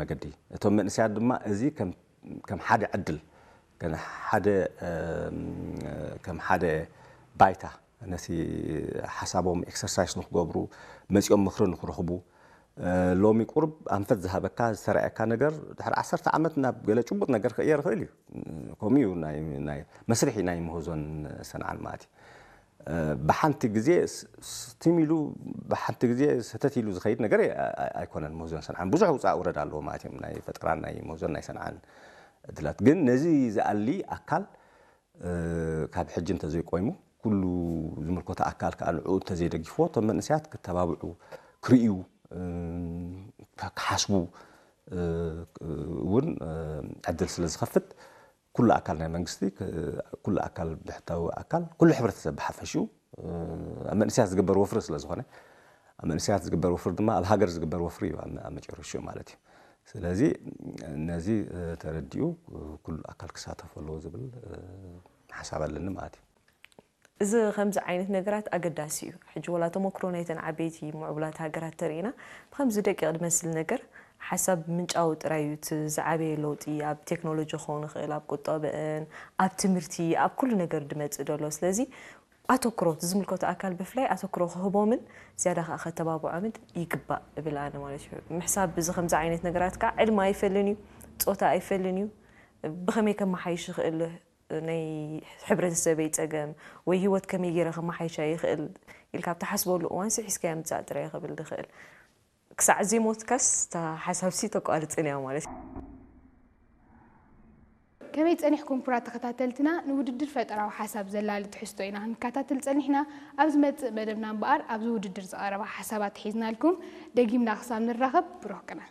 መገዲ እቶም መንእሰያት ድማ እዚ ከም ሓደ ዕድል ከም ሓደ ባይታ ነቲ ሓሳቦም ኤክሰርሳይስ ንክገብሩ መፂኦም ምክሪ ንክረኽቡ ሎሚ ቁርብ ኣንፈት ዝሃበካ ዝተረኣየካ ነገር ድሕሪ ዓሰርተ ዓመት ናብ ገለ ጭቡጥ ነገር ክቕየር ይኽእል እዩ። ከምኡ እዩ። መስርሒ ናይ ምህዞን ሰንዓን ማለት እዩ። ብሓንቲ ግዜ ስቲም ኢሉ ብሓንቲ ግዜ ሰተት ኢሉ ዝኸይድ ነገር ኣይኮነን። ምህዞን ሰንዓን ብዙሕ ውፃእ ውረድ ኣለዎ ማለት እዮም። ናይ ፈጠራን ናይ ምህዞን ናይ ሰንዓን እድላት ግን ነዚ ዝኣሊ ኣካል ካብ ሕጂ እንተዘይቆይሙ ኩሉ ዝምልከቶ ኣካል ከዓ ንዕኡ እንተዘይደጊፍዎ እቶም መንእሰያት ክተባብዑ ክርእዩ ክሓስቡ እውን ዕድል ስለ ዝኸፍት ኩሉ ኣካል ናይ መንግስቲ ኩሉ ኣካል ብሕታዊ ኣካል ኩሉ ሕብረተሰብ ብሓፈሽኡ ኣብ መንእሰያት ዝግበር ወፍሪ ስለ ዝኾነ ኣብ መንእሰያት ዝግበር ወፍሪ ድማ ኣብ ሃገር ዝግበር ወፍሪ እዩ ኣብ መጨረሽኡ ማለት እዩ። ስለዚ ነዚ ተረዲኡ ኩሉ ኣካል ክሳተፍ ኣለዎ ዝብል ሓሳብ ኣለኒ ማለት እዩ። እዚ ከምዚ ዓይነት ነገራት ኣገዳሲ እዩ። ሕጂ ወላ ተመክሮ ናይተን ዓበይቲ ምዕቡላት ሃገራት ተርእና ብከምዚ ደቂቕ ዝመስል ነገር ሓሳብ ምንጫዊ ጥራይ እዩ እቲ ዝዓበየ ለውጢ ኣብ ቴክኖሎጂ ክኸውን ይኽእል ኣብ ቁጠበአን ኣብ ትምህርቲ ኣብ ኩሉ ነገር ድመፅእ ደሎ ስለዚ ኣተኩሮ እቲ ዝምልከቶ ኣካል ብፍላይ ኣተኩሮ ክህቦምን ዝያዳ ከዓ ከተባብዖምን ይግባእ እብል ኣነ ማለት እዩ። ምሕሳብ እዚ ከምዚ ዓይነት ነገራት ከዓ ዕድመ ኣይፈልን እዩ፣ ፆታ ኣይፈልን እዩ፣ ብኸመይ ከመሓይሽ ይኽእል ናይ ሕብረተሰበይ ፀገም ወይ ህይወት ከመይ ገይረ ከመሓይሻ ይኽእል ኢልካ ኣብ ትሓስበሉ እዋንሲ ሒዝካያ ምፃእ ጥራይ ክብል ዝኽእል። ክሳዕ ዘይሞትካስ እታ ሓሳብሲ ተቋርፅን እያ ማለት እዩ። ከመይ ጸኒሕኩም ክቡራት ተኸታተልትና ንውድድር ፈጠራዊ ሓሳብ ዘላሊ ትሕዝቶ ኢና ክንከታተል ጸኒሕና ኣብ ዝመጽእ መደብና እምበኣር ኣብዚ ውድድር ዝቐረባ ሓሳባት ሒዝናልኩም ደጊምና ክሳብ ንራኸብ ብሩኽ ቅነ።